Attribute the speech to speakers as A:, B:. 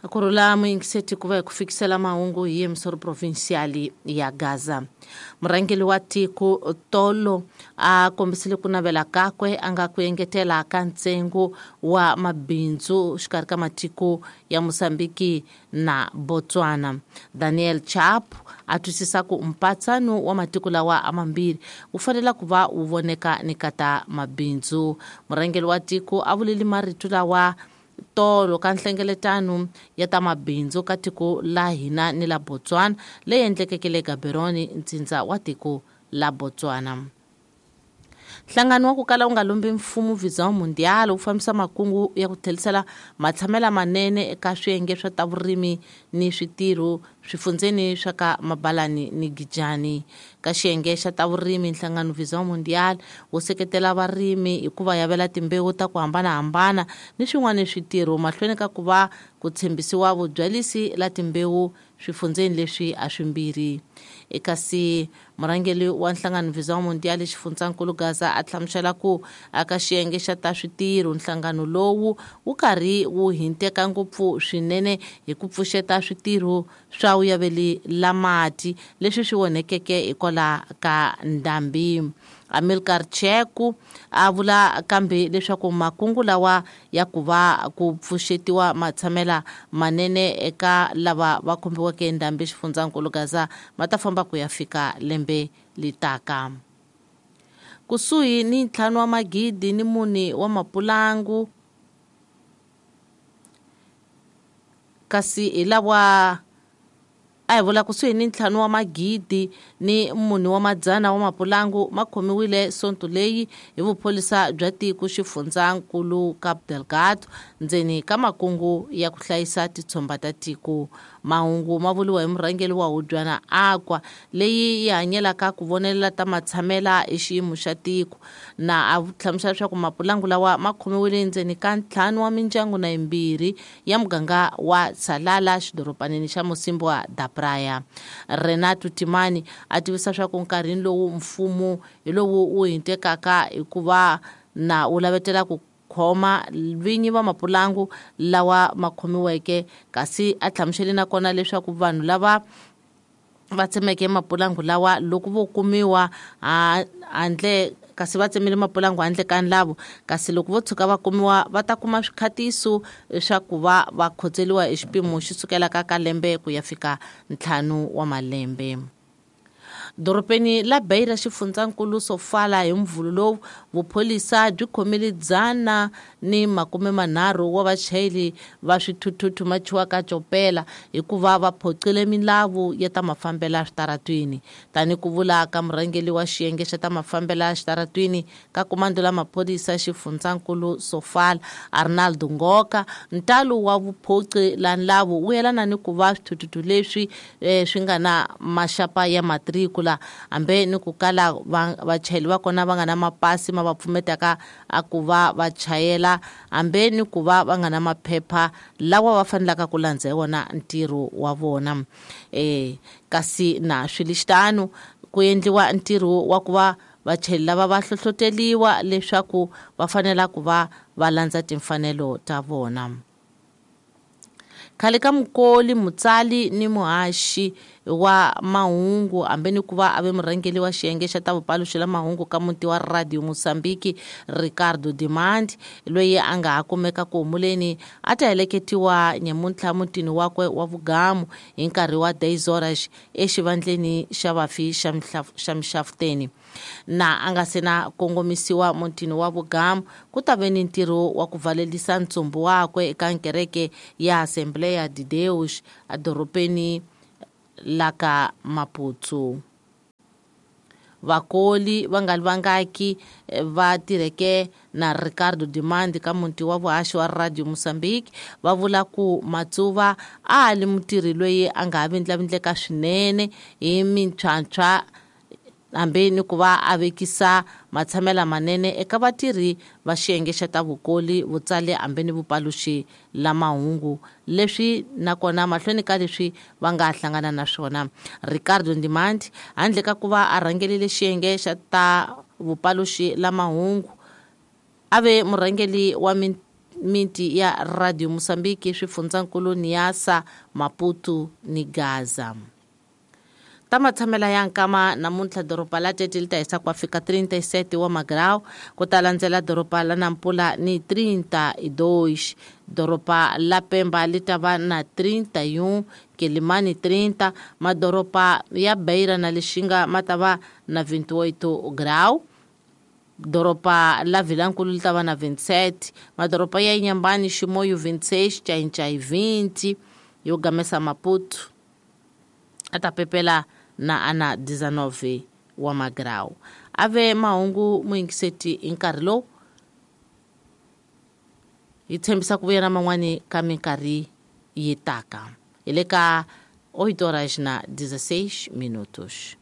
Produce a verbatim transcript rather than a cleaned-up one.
A: Kurula muyingiseti ku va hi ku fikisela mahungu hi emisoro provincial ya Gaza. Murhangeri wa tiko tolo a kombisile ku navela kakwe a nga ku engetela ka ntsengo wa mabindzu xikarhi ka matiko ya Mozambiki na Botswana. Daniel Chapo a twisisa ku mpatsano wa matiko lawa a mambirhi wu fanele ku va wu voneka ni kata mabindzu. Murhangeri wa tiko a vulile marito lawa tolo ka nhlengeletano ya ta mabindzu ka tiko la hina ni la Botswana leyi endlekeke le Gaborone, ntsindza wa tiko la Botswana. Nhlangano wa ku kala wu nga lombi mfumo Vision Mundial wu fambisa makungu ya ku tlherisela matshamela manene eka swiyenge swa ta vurimi ni switirho swifundzeni swa ka Mabalani ni Gijani. Ka xiyenge xa ta vurimi, nhlangano Vision Mundial wu seketela varimi hi ku va yavela timbewu ta ku hambanahambana ni swin'wana switirho mahlweni ka ku va ku tshembisiwa vubyalisi la timbewu swifundzeni leswi a swimbirhi. Kasi murhangeri wa nhlangano Vision Mundial xifundzankulu Gaza a hlamusela ku aka xiyenge xa ta switirho nhlangano lowu wu karhi wu hinteka ngopfu swinene hi ku pfuxeta switirho swa vuyaveli la mati leswi swi onhekeke hikwalaho ka ndhambi. Amilcar Cheku a vula kambe leswaku makungu lawa ya ku va ku pfuxetiwa matshamela manene eka lava va khumbiweke ndhambi xifundzankulu Gaza ma ta famba ku ya fika lembe litaka. Kusuhi ni ntlhanu wa magidi ni mune wa mapulangu kasi hi lawa a hi vula kusuhi ni ntlhanu wa magidi ni mune wa madzana wa mapulangu ma khomiwile sonto leyi hi vupholisa bya tiko xifundzankulu Cabo Delgado ndzeni ka makungu ya ku hlayisa titshomba ta tiko. Mahungu ma vuriwa hi murhangeri wa hubyana Aqua leyi yi hanyelaka ku vonelela ta matshamela hi xiyimo xa tiko, na a hlamusela leswaku mapulangu lawa ma khomiwile ndzeni ka ntlhanu wa mindyangu na yimbirhi ya muganga wa Salala xidoropanini xa Mocimboa da Praia. Renato Timani a tivisa swa ku nkarhini lowu mfumo hi lowu wu hintekaka hikuva na wu lavetela ku khoma vinyi va mapulangu lawa ma khomiweke, kasi a hlamuseli nakona leswaku vanhu lava va tsemeke mapulangu lawa loko vo kumiwa handle kasi va tsemile mapulangu handle ka nlavo, kasi loko vo tshuka va kumiwa va ta kuma swikhatiso swa ku va va khotseliwa hi xipimo xi sukelaka ka lembe ku ya fika ntlhanu wa malembe. Dorobeni la Beira xifundzankulu Sofala hi mvhulu lowu vupholisa byi khomile dzana ni makume manharhu wa vachayeri va swithuthuthu machiwaka copela hikuva va phoqile milawu ya ta mafambelo switaratwini. Tani ku vula ka murhangeri wa xiyenge xa ta mafambelo xitaratwini ka komando la maphorisa xifundzankulu Sofala Arnaldo Ngoka, ntalo wa vuphoqi la nlavu wu yelana ni ku va swithuthuthu leswi eh, swi nga na maxapa ya matriku la hambe ni ku kala vachayeri va kona va nga na mapasi ma va pfumetaka a ku va va chayela hambe ni ku va va nga na maphepha lawa va fanelaka ku landza hi wona ntirho wa vona. Eh kasi na swilixitano ku endliwa ntirho wa ku va vachayeri lava va hlohloteliwa leswaku va fanela ku va va landza timfanelo ta vona. Khale ka mukoli mutsali ni muhaxi wa mahungu hambe ni ku va a ve murhangeri wa xiyenge xa ta vupaluxi la mahungu ka muti wa Radio Mozambique Ricardo Dimandi loyi a nga ha kumeka ku humuleni a ta heleketiwa nyamuntlha mutini wakwe wa vugamu hi nkarhi wa dez horas exivandleni xa vafi xa Mixafuteni. Na a nga se na kongomisiwa mutini wa vugamu ku ta ve ni ntirho wa ku valelisa ntsumbu wakwe eka nkereke ya Assembleia de Deus edorobeni la ka Maputo. Vakoli va nga vangaki va tirheke na Ricardo Dimandi ka muti wa vuhaxi wa Radio Mozambique va vula ku Matsuva a li mutirhi loyi a nga ha vindlavindleka swinene hi mintlhwantlhwa hambi ni ku va a vekisa matshamela manene eka vatirhi va xiyenge xa ta vukoli vutsali hambi ni vupaluxi la mahungu leswi nakona mahlweni ka leswi va nga hlangana na swona. Ricardo Ndimandi handle ka ku va a rhangelile xiyenge xa ta vupaluxi la mahungu a ve murhangeri wa miti ya Radio Mozambique swifundzankulu Niassa, Maputo ni Gaza. Ta matshamela ya nkama namuntlha doroba la Tete li ta hisa ku fika trinta e sete wa magrau, ku ta landzela doroba la Nampula ni trinta e dois, doroba la Pemba li ta va na trinta e um, Quelimane trinta, madoroba ya Beira na Lixinga ma ta va na vinte e oito grau, doroba la Vilankulu li ta va na vinte e sete, madoroba ya Inhambane, Chimoio vinte e seis, Tchai-Tchai vinte, yo gamesa Maputo a ta pepela na ana dezenove wa magrau. Ave mahungu muyingiseti hi nkarhi lowu hi tshembisa ku vuya na man'wani ka minkarhi yi taka. Hi le ka oito horas na dezesseis minutos.